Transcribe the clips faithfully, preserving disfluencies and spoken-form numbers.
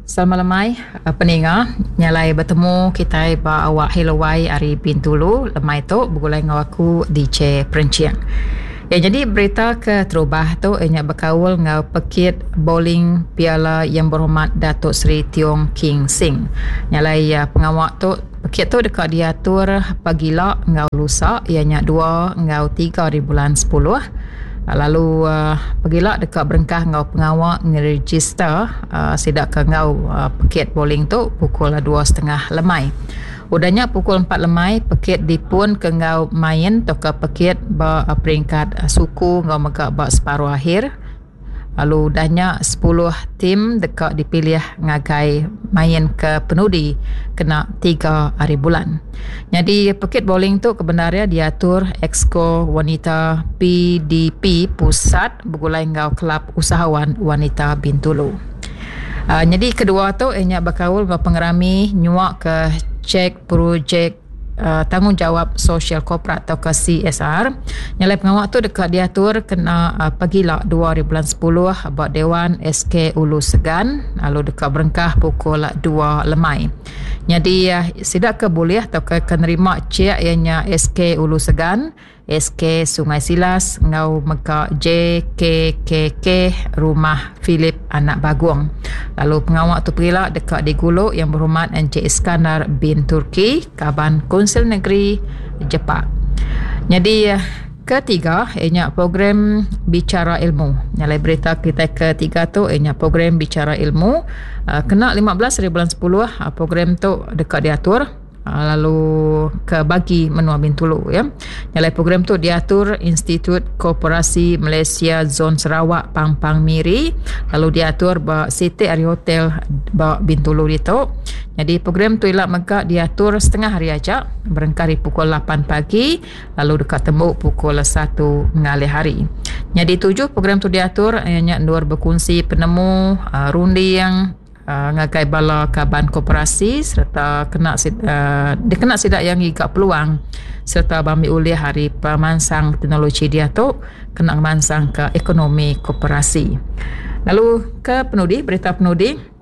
Selamat lemai peninga nyalai betemu kitai ba awak Hello Y ari Bintulu lemai tu begulai enggau aku D J Perencing. Ya, jadi berita ke terubah tu ianya bekaul enggau pekit bowling Piala Yang Berhormat Datuk Seri Tiong King Sing. Nyalai ya, pengawa tu pekit tu dekat diatur pagila enggau lusa ianya dua enggau tiga di bulan sepuluh. Lalu uh, pagila dekat berengkah enggau pengawa ngeregister uh, sidak ke enggau uh, pekit bowling tu pukul dua setengah lemai. Udahnya pukul empat lemai pekit dipun ke enggau main atau ke pekit ba peringkat suku enggau mega ba separuh akhir. Lalu udahnya sepuluh tim dekat dipilih ngagai main ke penudi kena tiga hari bulan. Jadi pekit bowling tu kebenarannya diatur Exco Wanita P D P Pusat begulai enggau Kelab Usahawan Wanita Bintulu. Uh, jadi kedua tu ianya berkaul dengan pengerami nyuak ke cek projek uh, tanggungjawab sosial korporat atau ke C S R. Nyalai pengawak tu dekat diatur kena uh, pagila dua hari bulan sepuluh ba Dewan S K Ulu Segan lalu dekat berengkah pukul dua lemai. Jadi uh, sidak ke boleh atau ke nerima cek ianya S K Ulu Segan, S K Sungai Silas ngau mega J K K K Rumah Philip Anak Bagong. Lalu pengawak tu perila dekat diguluk yang berhormat Encik Iskandar bin Turki, Kaban Konsil Negeri Jepak. Jadi ketiga ianya program Bicara Ilmu. Nyalai berita kita ketiga tu ianya program Bicara Ilmu. Kena lima belas hari bulan sepuluh program tu dekat diatur lalu ke bagi menua Bintulu ya. Nyalai program tu diatur Institut Koperasi Malaysia Zon Sarawak Pampang Miri lalu diatur ba Siti Ari Hotel ba Bintulu ditu. Jadi program tu ilak mega diatur setengah hari aja berengkah dari pukul lapan pagi lalu dekat tembuk pukul satu ngalih hari. Jadi tujuh program tu diatur ianya endur berkongsi penemu uh, runding Uh, ngagai bala kaban koperasi serta kena uh, dikena sidak yang giga peluang serta bambi ulih hari pemansang teknologi dia tu kena mansang ke ekonomi koperasi. Lalu ke penudi berita penudi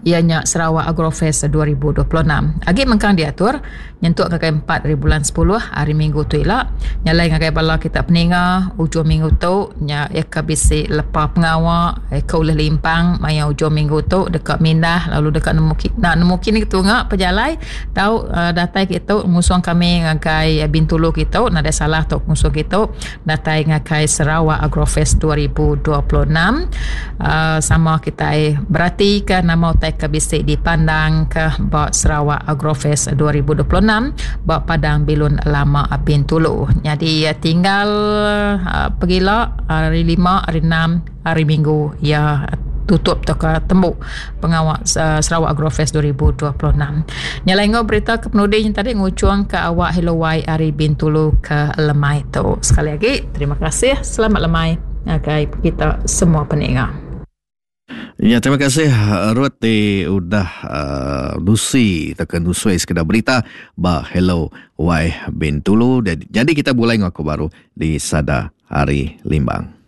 ianya Sarawak Agrofest dua ribu dua puluh enam. Agi mengkang diatur nyentuk ngagai empat hari bulan sepuluh hari Minggu tu ila. Nyalai ngagai bala kita peninga ujung minggu tu nya ya ke bisi lepa pengawa ya ke ulih limpang maya ujung minggu tu dekat mindah lalu dekat nemu nak nemu kini tunga pejalai tau uh, datai kitu ngusung kami ngagai Bintulu kitu nadai salah tu ngusung kitu datai ngagai Sarawak Agrofest dua ribu dua puluh enam. Uh, sama kita berarti ke nama utai ke bisi dipandang ke ba Sarawak Agrofest dua ribu dua puluh enam ba Padang Bilun Lama Bintulu. Jadi tinggal uh, pergila hari lima, hari enam, hari Minggu ya tutup atau ke tembuk pengawak uh, Sarawak Agrofest dua ribu dua puluh enam. Nyalai ngau berita ke penudi yang tadi ngucuang ke awak Hello Y hari Bintulu ke Lemai tu. Sekali lagi terima kasih, selamat lemai ngagai kita semua peninga. Ya, terima kasih Ruth ti udah uh, Lucy tekan Nusui sekedar berita ba Hello Y Bintulu. Jadi kita mulai ngaku baru di Sada Hari Limbang.